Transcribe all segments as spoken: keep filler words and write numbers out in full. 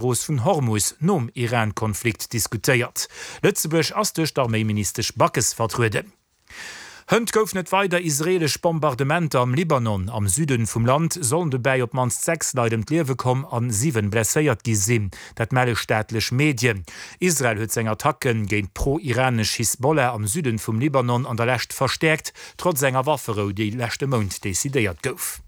Strooss vun Hormus nom Iran-Konflikt diskutéiert. Lëtzebuerg ass duerch d'Arméiministesch Backes vertrueden. Hënt goufen et weider israeelesch Bombardementer am Libanon. Am Süden vum Land sollen dobäi op d'mannst sechs Leit ëm d'Liewe komm an siwen blesséiert gi sinn. Dat melle staatlech Medien. Israel huet seng Attacke géint d'pro-iranesch Hisbollah am Süden vum Libanon an der Lescht verstäerkt, trotz enger Wafferou, déi leschte Mount decidéiert gouf.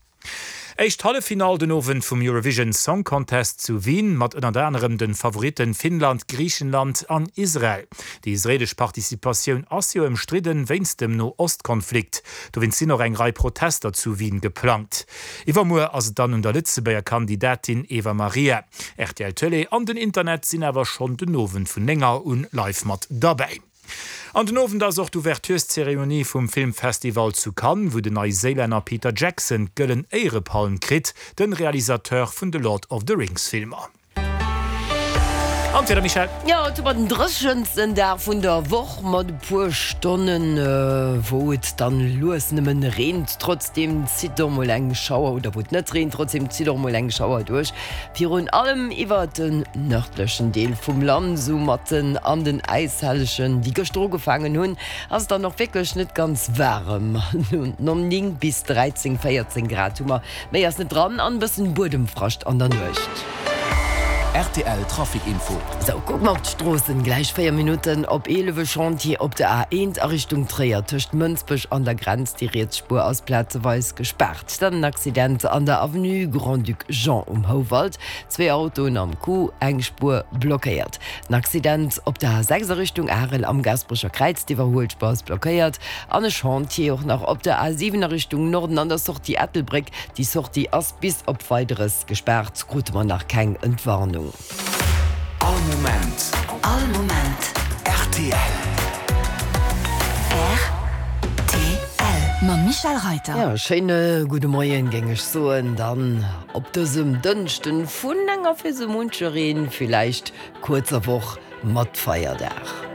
Éischt Halleffinall den Owend vum Eurovision Song Contest zu Wien, mat ënnert anerem de Favoritten Finnland, Griichenland an Israel. Déi israeelesch Participatioun ass jo ëmstridden, wéinst dem No-Ost-Konflikt. Dowéinst sinn och eng Rei Protester zu Wien geplangt. Iwwermuer ass et dann un der Lëtzebuerger Kandidatin Eva Marija. Rtl Tëlee an den Internet sinn awer schonn den Owend vun néng Auer un live mat derbäi. An den Owend ass och d'Ouvertureszeremonie vum Filmfestival zu Cannes, wou den Neiséilänner Peter Jackson d'Gëllen Éierepalm kritt, de Realisateur vun de Lord of the Rings Filmer. An d'Wieder, Michèle? Jo, et hu mer den dréchensten Dag vun der Woch mat e puer Stonnen, wou et dann lues nëmmen reent. Trotzdeem zitt och mol eng Schauer, oder wou et net reent, trotzdeem zitt och mol eng Schauer duerch. Virun allem iwwert den nërdlechen Deel vum Land, esou matten an den Äishellegen, déi gëschter ugefaangen hunn, ass et dann och wierklech net ganz waarem. Néng bis dräizéng, véierzéng Grad hu mer, méi ass net dran an e bëssen Buedemfrascht an der Nuecht. Rtl Trafic Info. Sou, kucke mer op d'Stroossen. Gläich véier Minutten op eelef e Chantier op der A eent a Richtung Tréier tëscht Mënsbech an der Grenz. Déi riets Spuer ass plazeweis gespaart. Dann en Accident an der Avenue Grand-Duc Jean um Houwald. Zwee Autoen am Coup, eng Spuer blockéiert. En Accident op der A sechs a Richtung Arel am Gaasperecher Kräiz, d'Iwwerhuelspuer ass blockéiert. An e Chantier och nach op der A siwen a Richtung Norden an der Sortie Ettelbréck. Déi Sortie ass bis op Weideres gespaart, krute mer nach keng Entwarnung. All Moment. All Moment. Rtl. Rtl. Mam Michèle Reiter. Jo, schéine gudde Moien, géing ech soen, dann op dësem Dënschden vun enger fir sou munchereen villäicht kuerzer Woch mat Feierdag.